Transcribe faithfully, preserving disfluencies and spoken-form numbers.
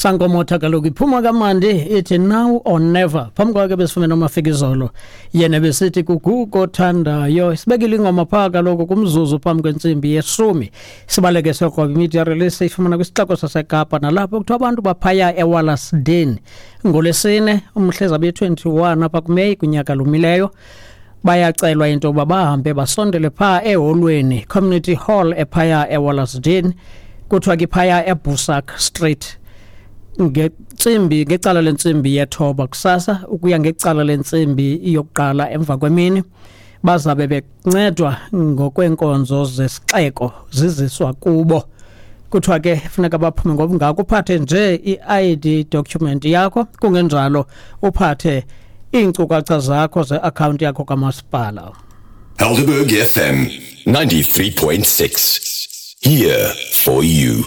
Sankomotha kaloku iphuma kamandi ithi "Now or Never". Phambi kwakhe besifumene uMafikizolo, yena besithi "Kugugo Othandayo". Sibekile ingoma phaa kaloku kumzuzu phambi kwentsimbi yeshumi. Sibaleke siyokroba imedia release, ifumana kwisixeko saseKapa, nalapho kuthiwa abantu baphaya eWallasden ngoLwesine umhla ezabe twenty-one apha kuMeyi kunyaka lumileyo bayacelwa into yokuba bahambe basondele phaa eholweni, community hall ephaya eWallasden, kuthiwa ke phaya eBusak Street, ngentsimbi ngecala lentsimbi yethoba kusasa ukuya ngecala lentsimbi yokuqala emva kwemini. Bazabe bencedwa ngokweenkonzo zesixeko ziziswa kubo. Kuthiwa ke funeka baphume ngobungako, uphathe nje i-I D document yakho, kungenjalo uphathe iinkcukacha zakho ze-akhawunti yakho kamasipala. Helderberg F M ninety-three point six. Here for you.